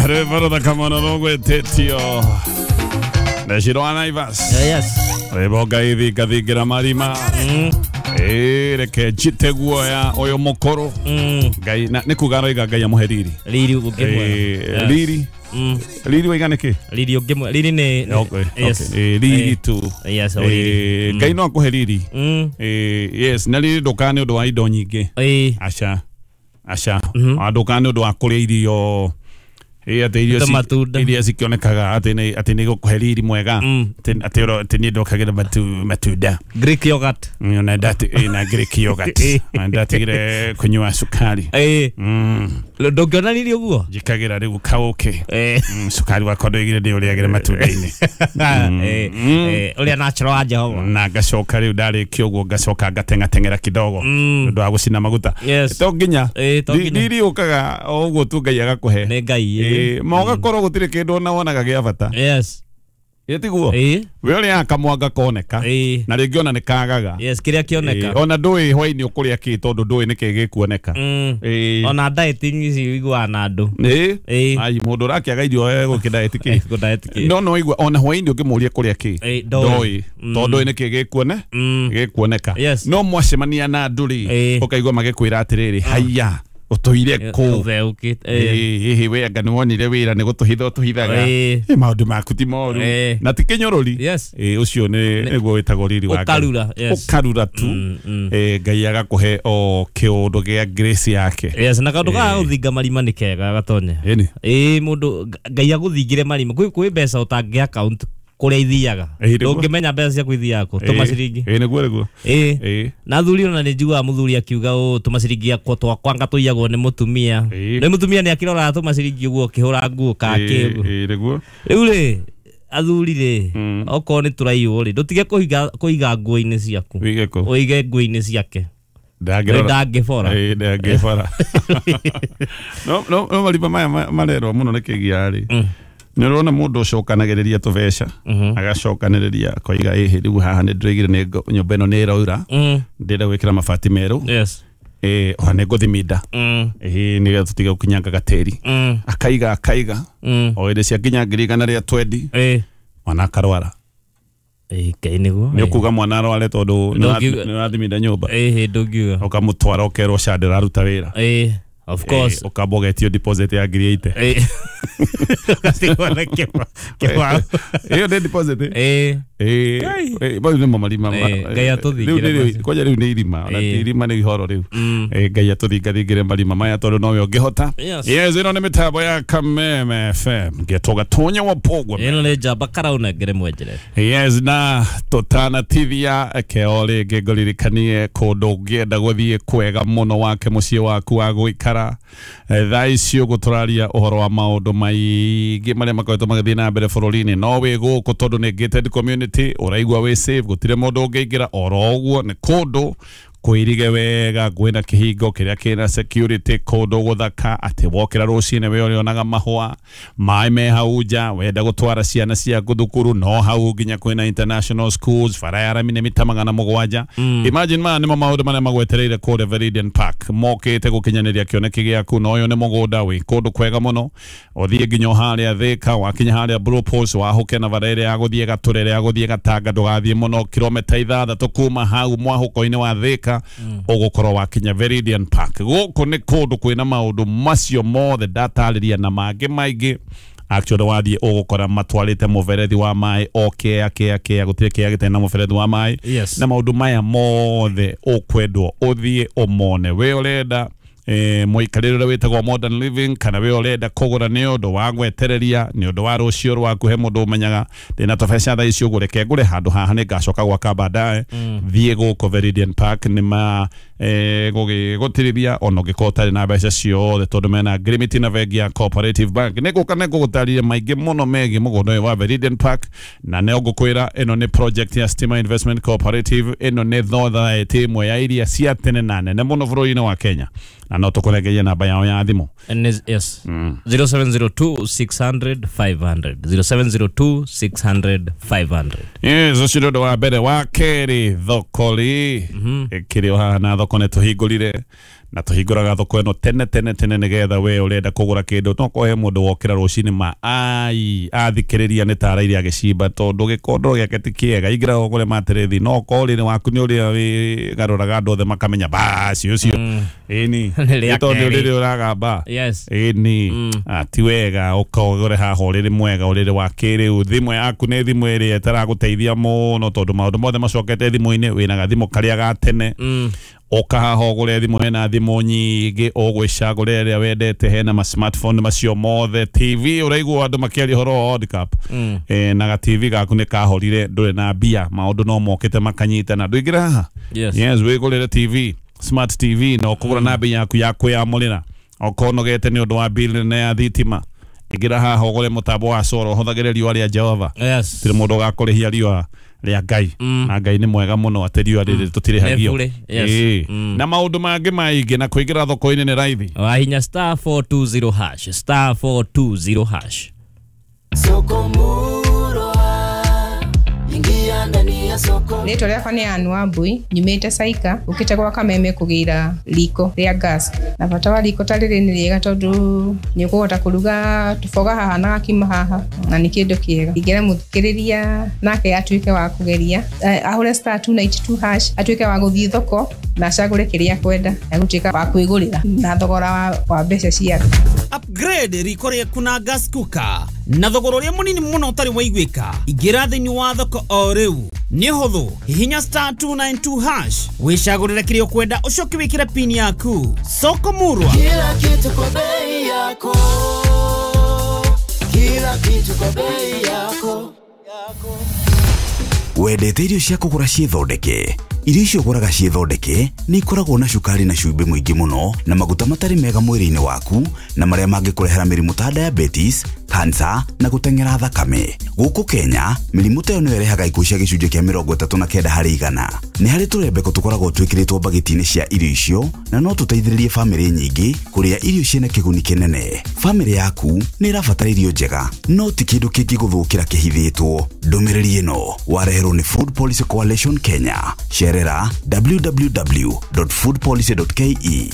Rwĩmbo rũthaka mũno rũgwĩtĩtio Neshiro wa Naivas. Yes. Rwĩmbo Ngai thingathingĩra marima. Ĩĩ, reke njite guoya ũyũ mũkũrũ. Ngai nĩ kuga aroiga Ngai amũhe riri. Riri ũngĩmwe. Ĩĩ, riri. Riri waiga nĩkĩ? Riri ũngĩmwe. Riri nĩ Okay, yes. okay. Ĩĩ, riri tu. Yes, o Ĩĩ, riri. Ngai no akũhe riri. Ĩĩ, yes, na riri ndũkaga nĩ ũndũ wa indo nyingĩ. Ĩĩ. Aca. Aca. Ndũkaga nĩ ũndũ wa kũrĩa irio. Ĩĩ, atĩ irio Tũmatunda. iria cikĩonekaga atĩ nĩ atĩ nĩ gũkũhe riri mwega. Atĩ atĩ niĩ ndokagĩra matunda. Greek yogurt. Na ndati na Greek yogurt. Na ndatigire kunyua cukari. Ĩĩ. Ndũngĩona riri ũguo? Njikagĩra rĩu kaũkĩ. Ĩĩ. Cukari wakwa ndoigire ndĩũrĩagĩre matunda-inĩ. Ĩĩ. Ĩĩ, ũrĩa natural wa Jehova. Na ngacoka rĩu ndarĩkia ũguo ngacoka ngateng'ateng'era kidogo. Nĩ ũndũ wa gũcina maguta. Yes. To nginya. Ĩĩ, to nginya. Riri ũkaga o ũguo tu Ngai agakũhe. Nĩ Ngai. Ĩĩ, ma ũgakorwo gũtirĩ kĩndũ ona wonaga gĩa bata. Yes. Ĩĩ tiguo? Ĩĩ. We ũrĩaga kamwanga koneka. Ĩĩ. Na rĩngĩ ona nĩ kagaga. Yes, kĩrĩa kĩoneka. Ĩĩ, ona ndũĩ hwaĩ-inĩ ũkũrĩa kĩ tondũ ndũĩ nĩkĩ gĩkuoneka. Ĩĩ. Ona dieting ici ũiguaga na andũ. Ĩĩ. Ĩĩ. Ai, mũndũ ũrakĩaga irio egũkĩ diet kĩ? Gũ diet kĩ? No no igua ona hwaĩ-inĩ ũngĩmũria kũrĩa kĩ? Ĩĩ, ndoĩ. Ndoĩ. Tondũ ndũĩ nĩkĩ gĩkuone? Gĩkuoneka. Yes. No mwacemania na andũ rĩ, Ĩĩ. ũkaigua magĩkwĩra atĩrĩrĩ, haiya, ũtũire kũ? Ũtheũkĩte. Ĩĩ, ĩhĩ, we anga nĩ wonire wĩra nĩ gũtũhitha ũtũhithaga. Ĩĩ. Ĩ, maũndũ maku ti moru. Ĩĩ. Na ti kĩnyũrũri. Yes. Ĩĩ, ũcio nĩ nĩguo wĩtagwo riri wa Ngai. Ũkarura, yes. Ũkarura tu. Ĩĩ, Ngai agakũhe o kĩũndũ gĩa grace yake. Yes, na kaũndũ ga gũthinga marima nĩ kega gatonya. Ĩni. Ĩĩ, mũndũ Ngai agũthingĩre marima. Kwĩ mbeca ũtangĩ account kũrĩa ithiaga. Ĩĩ, nĩguo. Ndũngĩmenya mbeca ciaku ithiaga kũ, tũmaciringi. Ĩĩ, nĩguo nĩguo. Ĩĩ. Ĩĩ. Na athuri ona nĩ njiguaga mũthuri akiuga ũũ tũmaciringi akwa twakwa anga tũiyagwo nĩ mũtumia. Ĩĩ. Nĩ mũtumia nĩ akĩroraga tũmaciringi ũguo ũkĩhũra nguo ka kĩ ũguo. Ĩĩ, nĩguo. Rĩu rĩ, athuri rĩ, okorwo nĩ tũraiywo rĩ, ndũtige kũiga nguo-inĩ ciaku. Wĩige kũ? Ũige nguo-inĩ ciake. Ndangĩrora. Ndangĩbora. Ĩĩ, ndangĩbora. No no no marima maya marerwo mũno nĩ kĩgia rĩ. Nĩ ũrona mũndũ ũcokanagĩrĩria tũbeca agacokanĩrĩria akoiga ĩhĩ rĩu haha nĩ ndĩraigire nĩ nyũmba ĩno nĩ ĩraura ndĩrenda gwĩkĩra mabati merũ. Yes. Ĩĩ, ona nĩ ngũthiminda. Ĩhĩ, nĩgetha tũtige gũkinyangaga tĩri. Akaiga akaiga. O hĩndĩ ciakinya 120,000 Ĩĩ. mwana akarwara. Ĩĩ, Ngai nĩguo. Nĩ ũkuga mwana arware tondũ nĩ ũrathiminda nyũmba. Ĩhĩ, ndũngiuga. Ũkamũtwara ũkerwo ca ndĩraruta wĩra. Ĩĩ, of course. Ũkamba ũgetio deposit ya 80,000. Ĩĩ. Ũgatigwo na kĩbaũ. Ĩyo nĩ deposit. Ĩĩ. Ĩĩ, mau nĩmo marima. Ngai atũthingĩre. Kwanja rĩu nĩ irima, ona ti irima nĩ ihoro rĩu. Ngai atũthingathingĩre marima maya tondũ nowe ũngĩhota. Yes. Yes, ĩno nĩ mĩtambo ya Kameme FM. Ngetwo Gatonya wa Pogwa. Ĩno nĩ njamba karaunengere mwenjere. Yes, na tũtanatithia keo rĩngĩ ngũririkanie kũndũ ũngĩenda gũthiĩ kwega mũno wake mũciĩ waku wa gũikara. Thaa ici ũguo tũraria ũhoro wa maũndũ maingĩ marĩa makoretwo magĩthiĩ na mbere bũrũri-inĩ. No wĩ gũkũ tondũ nĩ gated community, ũraigua wĩ safe, gũtirĩ mũndũ ũngĩingĩra oro ũguo. Nĩ kũndũ kwĩrige wega, kwĩna kĩhingo kĩrĩa kĩna security, kũndũ gũthaka atĩ wokĩra rũcinĩ we ũrĩonaga mahũa, maĩ me hau nja, wenda gũtwara ciana ciaku thukuru no hau nginya kwĩna international schools, bara ya rami nĩ mita 700. Imagine maya nĩmo maũndũ marĩa magwetereire kũrĩa Veridian Park, mokĩte gũkinyanĩria kĩoneki gĩaku. Na ũyũ nĩ mũgũnda wĩ kũndũ kwega mũno, ũthiĩ nginya harĩa Thika, wakinya harĩa Blue Post, wahũke na bara ĩrĩa ya gũthiĩ Gatũre, ĩrĩa ya gũthiĩ Gatanga, ndũgathiĩ mũno kilomita 6 kuma hau mwahũko-inĩ wa Thika, ũgũkorwo wakinya Veridian Park. Gũkũ nĩ kũndũ kwĩna maũndũ macio mothe ndatarĩria na mangĩ maingĩ. Actually wathiĩ ũgũkora matwarĩte mũberethi wa maĩ o kĩa kĩa kĩa, gũtirĩ kĩa gĩtarĩ na mũberethi wa maĩ. Yes. Na maũndũ maya mothe ũkwendwo ũthiĩ ũmone. We ũrenda mũikarĩre ũrĩa wĩtagwo modern living, kana we ũrenda kũgũra nĩ ũndũ wa gwetereria, nĩ ũndũ wa rũciũ rwaku, he mũndũ ũmenyaga ndĩna tũbeca thaa ici ũguo, reke ngũre handũ haha nĩ ngacoka gwaka baadaye. Thiĩ gũkũ Veridian Park nĩ ma gũgĩgũtirithia ona ũngĩkorwo ũtarĩ na mbeca ciothe, tondũ mena agreement na bengi ya Cooperative Bank. Nĩ ngũka nĩ ngũgũtarĩria maingĩ mũno megiĩ mũgũnda ũyũ wa Veridian Park, na nĩ ngũkwĩra ĩno nĩ project ya Stima Investment Cooperative. Ĩno nĩ thothaĩtĩ ĩmwe ya iria cia tene na nene mũno bũrũri-inĩ wa Kenya, na no tũkũrengerie namba yao ya thimũ. Yes. 0702 600 500. 0702 600 500. Yes, ũcio nĩ ũndũ wa mbere. Wa kerĩ, thoko rĩ ĩkĩrĩ o haha, na thoko nĩ tũhingũrire Na tũhingũraga thoko ĩno tene tene tene nĩgetha we ũrenda kũgũra kĩndũ no kohe mũndũ wokĩra rũcinĩ ma ai athikĩrĩria nĩ tara iria agĩcimba tondũ gĩkondoro gĩake ti kĩega ingĩra ũgũre materethi no korwo ũrĩrĩ waku nĩ ũrĩa wĩgarũraga andũ othe makamenya baci ũcio ĩni Nĩ rĩa tondũ kerĩ. ũrĩrĩ ũragamba. Yes. Ĩni ti wega ũkogore haha ũrĩrĩ mwega ũrĩrĩ wa kĩrĩu thimũ yaku nĩ thimũ ĩrĩa ĩtaragũteithia mũno tondũ maũndũ mothe macokete thimũ-inĩ wĩna gathimũ karĩa ga tene ũka haha ũgũre thimũ hena thimũ nyingĩ ũgwĩcagũra ĩrĩa wendete hena ma smartphone macio mothe TV ũraigua andũ makĩaria ũhoro wa World Cup na ga TV gaku nĩ kahorire ndũrĩ na mbia maũndũ no mokĩte makanyitana ndũingĩre haha. Yes. Yes, wĩgũrĩre TV smart TV na ũkũgũra na bei yaku ya kwĩyamũrĩra okorwo ũnogete nĩ ũndũ wa bill nene ya thitima ingĩra haha ũgũre mũtambo wa solar ũhũthagĩre riũa rĩa Jehova. Yes. Tirĩ mũndũ ũgakũrĩhia riũa rĩa Ngai na Ngai nĩ mwega mũno atĩ riũa rĩrĩ tũtirĩhagio. Nĩ bure, yes. Ĩĩ. Na maũndũ mangĩ maingĩ na kũingĩra thoko-inĩ nĩ raithi. Wahinya star 420 hash, star 420 hash. Soko Murwa, ingia ndani ya soko. Rĩtwa rĩakwa nĩ Ann Wambui nyumĩte Saika ũkĩte gwa Kameme kũgĩra riko rĩa gas na bata wa riko ta rĩrĩ nĩ rĩega tondũ nĩ ũkũhota kũruga tũboga haha na gakima haha na nĩ kĩndũ kĩega ingĩra mũthikĩrĩria nake atuĩke wa kũgeria ahũre star 292 hash atuĩke wa gũthiĩ thoko na acagũre kĩrĩa akwenda agũtuĩka wa kwĩgũrĩra na thogora wa mbeca ciake. Upgrade riko rĩaku na gas cooker na thogora ũrĩa mũnini mũno ũtarĩ waiguĩka. Ingĩra thĩinĩ wa thoko o rĩu nĩ ũhũthũ hihinya star 292 hash wĩcagũrĩre kĩrĩa ũkwenda ũcoke wĩkĩre pin yaku. Soko Murwa. Kila kitu kwa bei yako, kila kitu kwa bei yako. Wendete irio cia kũgũra ciĩthondeke? Irio icio ũgũraga ciĩthondeke nĩ ikoragwo na cukari na cumbĩ mũingĩ mũno na maguta matarĩ mega mwĩrĩ-inĩ waku na marĩa mangĩkũrehera mĩrimũ ta diabetes, cancer na gũteng'era thakame. Gũkũ Kenya, mĩrimũ ta ĩyo nĩyo ĩrehaga ikuũ cia gĩcunjĩ kĩa 39 harĩ igana. Nĩ harĩ tũrembeko tũkoragwo twĩkĩrĩtwo mbagiti-inĩ cia irio icio na no tũteithĩrĩrie bamĩrĩ nyingĩ kũrĩa irio ciĩna kĩguni kĩnene. Bamĩrĩ yaku nĩ ĩrabatara irio njega no ti kĩndũ kĩngĩgũthũkĩra kĩhithĩtwo. Ndũmĩrĩri ĩno wareherwo nĩ Food Policy Coalition Kenya. Cerera www.foodpolicy.ke.